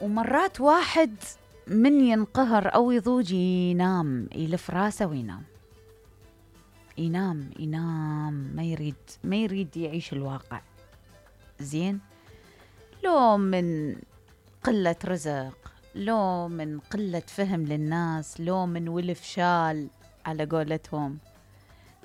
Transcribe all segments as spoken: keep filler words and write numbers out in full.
ومرات واحد من ينقهر أو يضوج ينام، يلف راسه وينام، ينام ينام ما يريد ما يريد يعيش الواقع. زين، لو من قلة رزق، لو من قلة فهم للناس، لو من ولف شال على قولتهم،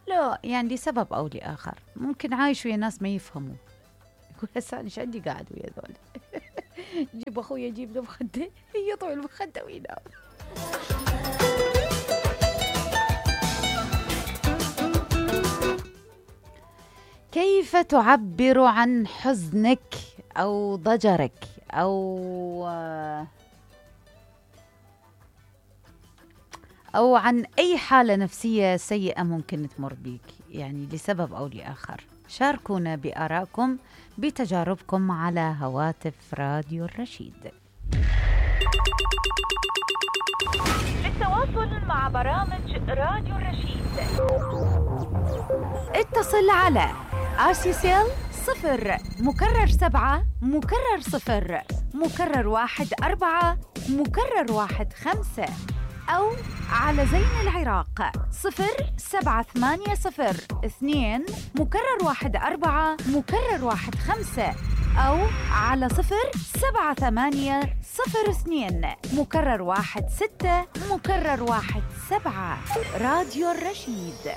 لو يعني لسبب أو لآخر. ممكن عايش ويا ناس ما يفهموا، يقول هسه أنا شو عندي قاعد ويا ذول. جيب أخويا جيب له مخدة، يطوي المخدة وينام. كيف تعبر عن حزنك أو ضجرك أو أو عن أي حالة نفسية سيئة ممكن تمر بيك، يعني لسبب أو لآخر؟ شاركونا بآرائكم بتجاربكم على هواتف راديو الرشيد. للتواصل مع برامج راديو الرشيد اتصل على آسيسيل صفر مكرر سبعة مكرر صفر مكرر واحد أربعة مكرر واحد خمسة، أو على زين العراق صفر سبعة ثمانية صفر اثنين مكرر واحد أربعة مكرر واحد خمسة، أو على صفر سبعة ثمانية صفر اثنين مكرر واحد ستة مكرر واحد سبعة. راديو الرشيد.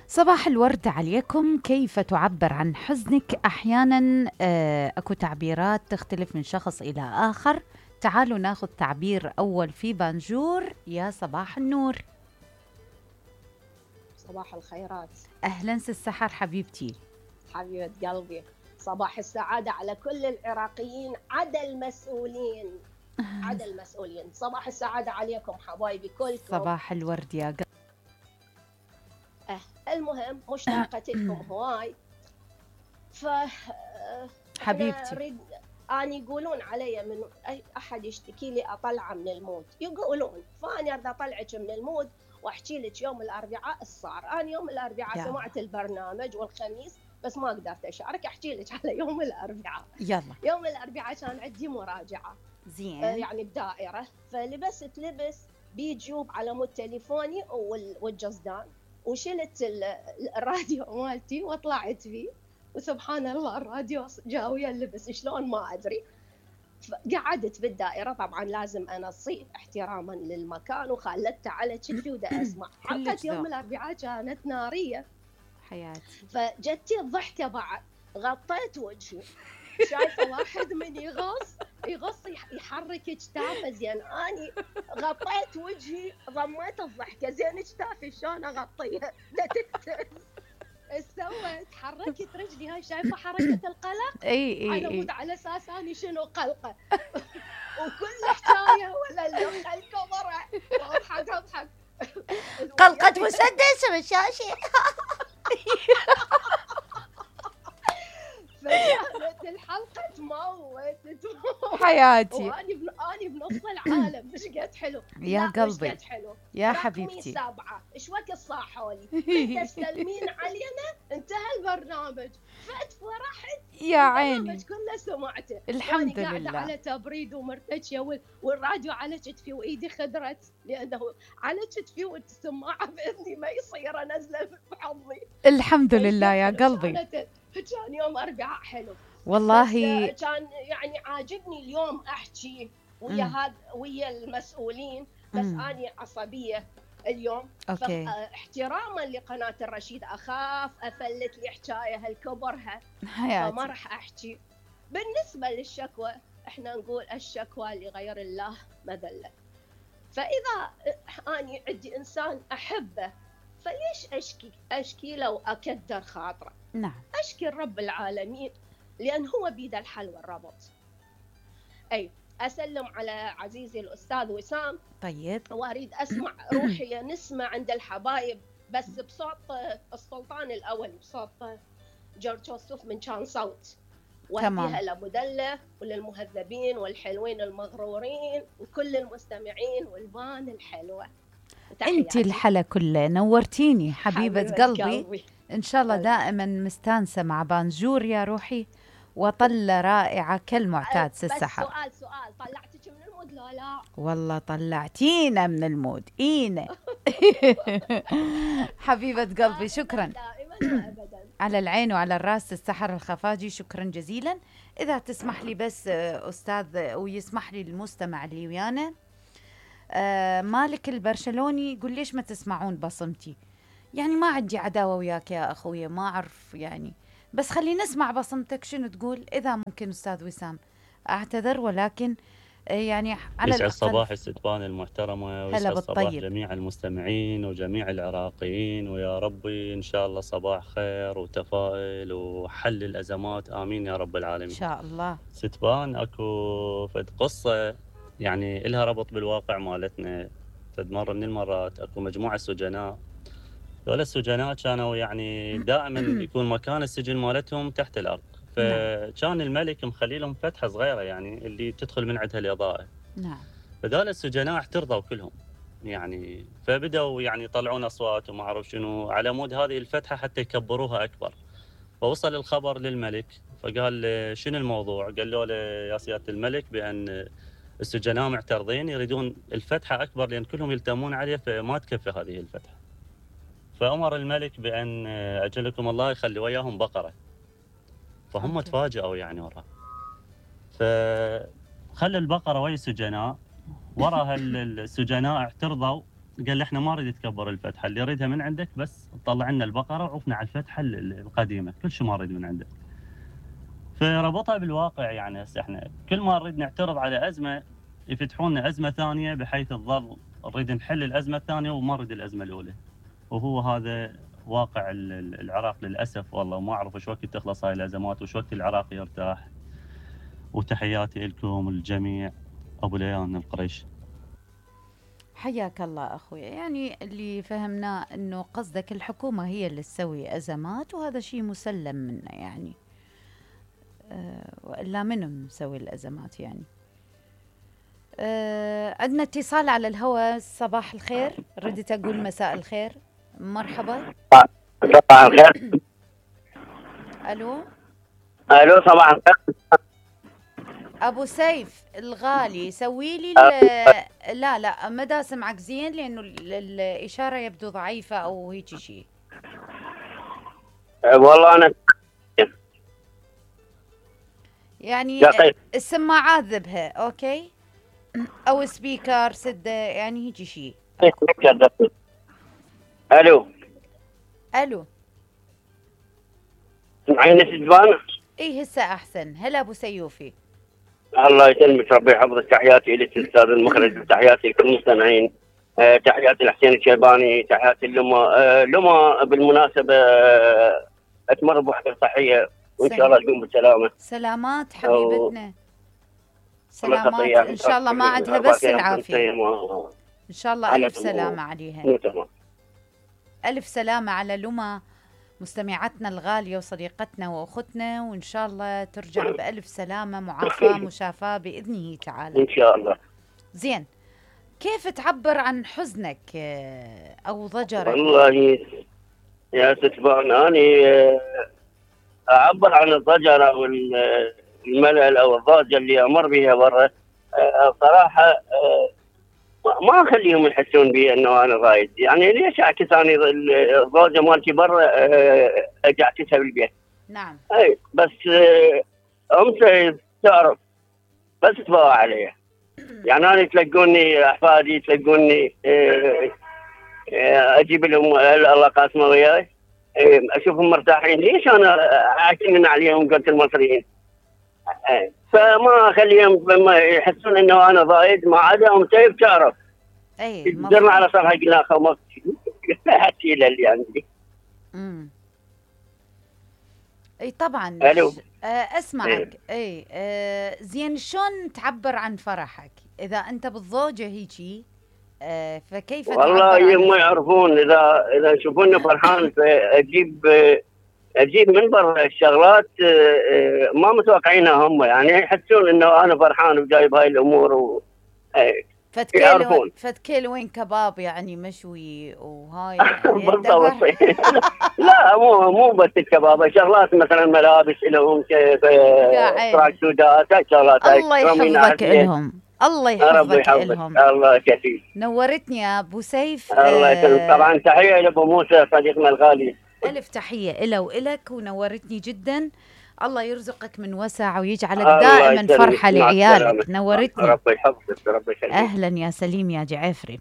صباح الورد عليكم. كيف تعبر عن حزنك؟ أحيانا آه، أكو تعبيرات تختلف من شخص إلى آخر. تعالوا ناخذ تعبير أول في بانجور. يا صباح النور. صباح الخيرات. أهلا السحر حبيبتي. حبيبة قلبي، صباح السعادة على كل العراقيين عدا المسؤولين. عدا المسؤولين، صباح السعادة عليكم حبايبي كلكم. صباح الورد يا قلبي. أه المهم مشتاقة لكم هواي. ف حبيبتي أريد أنا يقولون علي من أي أحد يشتكي لي أطلعه من المود، يقولون، فأنا أريد أطلعك من المود وأحكي لك يوم الأربعاء الصار. أنا يوم الأربعاء سمعت البرنامج والخميس بس ما قدرت أشارك، أحكي لك على يوم الأربعاء. يلا. يوم الأربعاء كان عندي مراجعة زين، آه يعني بدائرة، فلبست لبس بيجوب على مود تليفوني والجزدان، وشلت الراديو مالتي وطلعت فيه، وسبحان الله الراديو جاوية اللبس شلون ما أدري. قعدت بالدائرة، طبعا لازم أنصي احتراما للمكان، وخلتها على كتفي ودا أسمع. حلقة يوم الأربعاء كانت نارية حياتي. فجتي الضحكة بعد، غطيت وجهي، شايفة واحد من يغص يغص يحرك اجتافه، زين أني غطيت وجهي ضميت الضحكة، زين اجتافي شلون أغطيها؟ سويت حركت رجلي، هاي شايفة حركة القلق؟ اي اي على اي مود على اساس اني شنو قلقة. وكل حكاية ولا اللي خلكم ورا واضحك اضحك قلقة مسدس بالشاشة. فكانت الحلقة تموت تموت حياتي. واني بن... اني بنص العالم. مش قد حلو يا قلبي، مش قد حلو يا حبيبتي. رقمي سبعة، ايش وقت صاحولي تسلمين علينا، انتهى البرنامج، فات فرحت يا عيني، البرنامج كله سمعته. الحمد لله لله. على تبريد ومرتجية والراديو على كتفي وايدي خضرت، لانه على كتفي والسماعة باذني ما يصير انزله بحضني. الحمد لله يا قلبي. كان يوم أربعاء حلو والله، كان يعني عاجبني اليوم أحكي ويا هذا ويا المسؤولين، بس مم. أنا عصبية اليوم. أوكي. احتراما لقناة الرشيد أخاف أفلت لي حكاية هالكبرها، حياتي. فما راح أحكي. بالنسبة للشكوى، إحنا نقول الشكوى لغير الله مذلة. فإذا أنا عندي إنسان أحبه فليش أشكي أشكي لو أكدر خاطره؟ نعم، أشكي رب العالمين لأن هو بيد الحل والربط. أي أسلم على عزيزي الأستاذ وسام. طيب. وأريد أسمع روحي نسمع عند الحبايب بس بصوت السلطان الأول، بصوت جورج وسوف من كان صوت. وأهديها لمدلة وللمهذبين والحلوين المغرورين وكل المستمعين والبان الحلوة. انت الحلا كله، نورتيني حبيبة, حبيبة قلبي. قلبي ان شاء الله دائما مستانسة مع بانجور يا روحي، وطلة رائعة كالمعتاد سي بس السحر. سؤال سؤال طلعتك من المود لا لا؟ والله طلعتينا من المود إينا. حبيبة قلبي شكرا. دائما وأبدا. على العين وعلى الراس السحر الخفاجي، شكرا جزيلا. إذا تسمح لي بس أستاذ ويسمح لي المستمع اللي ويانا، آه مالك البرشلوني يقول ليش ما تسمعون بصمتي؟ يعني ما عندي عداوة وياك يا أخويا، ما أعرف يعني، بس خلي نسمع بصمتك شنو تقول إذا ممكن. أستاذ وسام أعتذر، ولكن يعني على يسعد الأقل صباح الستبان المحترمة، ويسعد صباح جميع المستمعين وجميع العراقيين، ويا ربي إن شاء الله صباح خير وتفاؤل وحل الأزمات، آمين يا رب العالمين إن شاء الله. ستبان أكو فد قصة يعني إلها ربط بالواقع مالتنا. فد مرة من المرات أكو مجموعة سجناء، دول السجناء كانوا يعني دائما يكون مكان السجن مالتهم تحت الأرض، فكان الملك مخلي لهم فتحة صغيرة يعني اللي تدخل من عندها الإضاءة. نعم. فدول السجناء احترضوا كلهم يعني، فبدأوا يعني يطلعون أصوات وما أعرف شنو على مود هذه الفتحة حتى يكبروها أكبر. فوصل الخبر للملك، فقال شنو الموضوع؟ قال له يا سيادة الملك بأن السجناء معترضين يريدون الفتحة أكبر لأن كلهم يلتمون عليه فما تكفي هذه الفتحة. فأمر الملك بأن أجلكم الله يخلي وياهم بقرة. فهم أوكي. تفاجئوا يعني وراء، فخلى البقرة ويا السجناء. وراها السجناء اعترضوا، قال احنا ما نريد تكبر الفتحة، اللي يريدها من عندك بس طلع لنا البقرة وعوفنا على الفتحة القديمة، كل شيء ما نريد من عندك. فربطها بالواقع يعني، هسه احنا كل ما نريد نعترض على أزمة يفتحون لنا أزمة ثانية بحيث تظل نريد نحل الأزمة الثانية وما نريد الأزمة الأولى. وهو هذا واقع العراق للأسف والله. ما أعرف وش وقت تخلص هاي الأزمات وش وقت العراق يرتاح. وتحياتي لكم الجميع. أبو ليان القريش. حياك الله أخوي. يعني اللي فهمناه أنه قصدك الحكومة هي اللي تسوي أزمات، وهذا شيء مسلم منه يعني، أه وإلا منو مسوي الأزمات يعني. أه عندنا اتصال على الهواء. صباح الخير، ردت أقول مساء الخير. مرحبا. صباح الخير. ألو الو صباح الخير. ابو سيف الغالي، سوي لي لا لا ما دا اسمعك زين لانه الاشاره يبدو ضعيفه او هيك شيء. والله انا يعني السماعات ذبها اوكي او سبيكر سده يعني هيك شيء. الو الو سمعيني ستبان؟ اي هسه احسن. هلا ابو سيوفي. الله يسلمك، ربي يحفظك. تحياتي لك استاذ المخرج، وتحياتي لكل المستمعين. أه تحياتي لحسين الشيباني، تحياتي لما أه لما بالمناسبه أه تمر بوحده صحيه وان شاء الله تقوم بالسلامه. سلامات حبيبتنا. سلامات ان شاء الله ما عندها بس العافيه ان شاء الله. الف سلامه عليها. الف سلامه على لما مستمعتنا الغالية وصديقتنا وأختنا، وإن شاء الله ترجع بألف سلامة معافاة مشافاة بإذنه تعالى إن شاء الله. زين، كيف تعبر عن حزنك أو ضجرك؟ والله يا ستبان أنا أعبر عن الضجر أو الملل أو الضجة اللي أمر بها برا. بصراحة ما اخليهم يحسون بي انه انا ضايد. يعني ليش اعكس انا الزوجه مالتي برا اجي اعكسها بالبيت؟ نعم. اي بس امس تعرف بس تبغى عليها. يعني انا تلقوني احفادي تلقوني اجيب لهم الله قاسمه وياي اشوفهم مرتاحين. ليش انا اعكنن عليهم قلت المصريين؟ فما اخليهم يحسون انه انا ضايد. ما عدا ام سيف تعرف اي درنا على صرحه قلنا خو هاتي اللي عندي. امم اي طبعا. الو آه اسمعك. اي آه زين، شلون تعبر عن فرحك اذا انت بالضوجه هيجي؟ آه فكيف والله يما يعرفون اذا اذا يشوفوني فرحان فاجيب اجيب من برا الشغلات ما متوقعينها هم، يعني يحسون انه انا فرحان وجايب هاي الامور و... فد كيلو فد كيلوين كباب يعني مشوي وهاي يعني بالضبط. لا مو مو بس الكباب، شغلات مثلا ملابس لهم كيف تراكسودات شغلات. الله يحفظك لهم، الله يحفظك لهم. الله كثير. نورتني يا ابو سيف. الله يسلمك. طبعا تحيه لابو موسى صديقنا الغالي. الف تحيه له والك، ونورتني جدا. الله يرزقك من وسع ويجعلك دائما فرحه لعيالك. نورتني. ربي يحفظك ربي يخليك. اهلا يا سليم يا جعفري.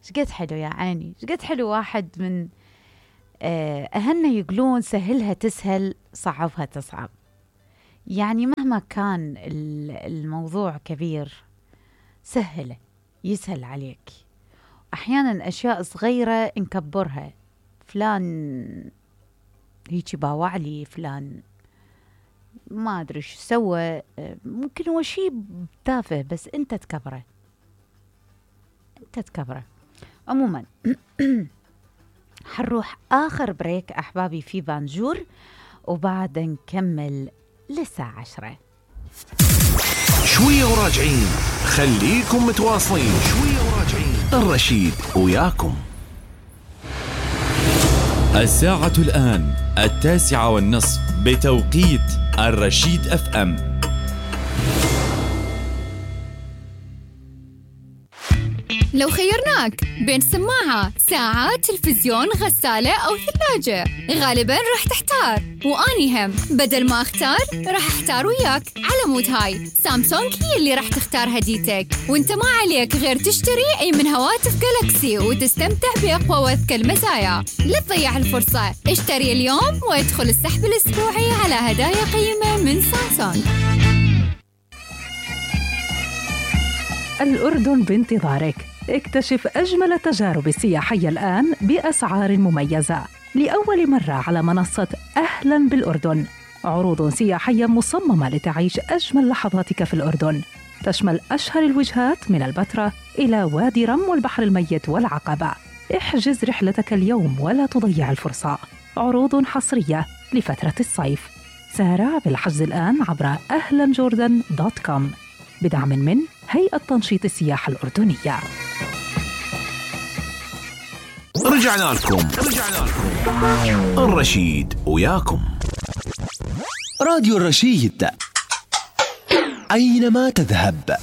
شقد حلو يا عيني، شقد حلو. واحد من اهلنا يقولون سهلها تسهل صعبها تصعب. يعني مهما كان الموضوع كبير سهله يسهل عليك. احيانا اشياء صغيره نكبرها، فلان هيجي باوع لي، فلان ما ادري ايش سوى، ممكن هو شيء تافه بس انت تكبره، انت تكبره. عموما حنروح اخر بريك احبابي في بانجور، وبعد نكمل للساعة عشرة. شوية وراجعين، خليكم متواصلين. شوية وراجعين، الرشيد وياكم. الساعة الآن التاسعة والنصف بتوقيت الرشيد اف ام. لو خيرناك بين سماعة، ساعة، تلفزيون، غسالة أو ثلاجة، غالباً راح تحتار. وأني هم بدل ما أختار راح أحتار وياك. على مود هاي سامسونج هي اللي راح تختار هديتك، وانت ما عليك غير تشتري أي من هواتف جالاكسي وتستمتع بأقوى وأذكى المزايا. لا تضيع الفرصة، اشتري اليوم وادخل السحب الأسبوعي على هدايا قيمة من سامسونج. الأردن بانتظارك. اكتشف أجمل التجارب السياحية الآن بأسعار مميزة لأول مرة على منصة أهلاً بالأردن. عروض سياحية مصممة لتعيش أجمل لحظاتك في الأردن، تشمل أشهر الوجهات من البتراء إلى وادي رم والبحر الميت والعقبة. احجز رحلتك اليوم ولا تضيع الفرصة. عروض حصرية لفترة الصيف. سارع بالحجز الآن عبر أهلاً جوردن دوت كوم بدعم من هيئة تنشيط السياحة الأردنية. رجعنا لكم رجعنا لكم الرشيد وياكم. راديو الرشيد، أينما تذهب.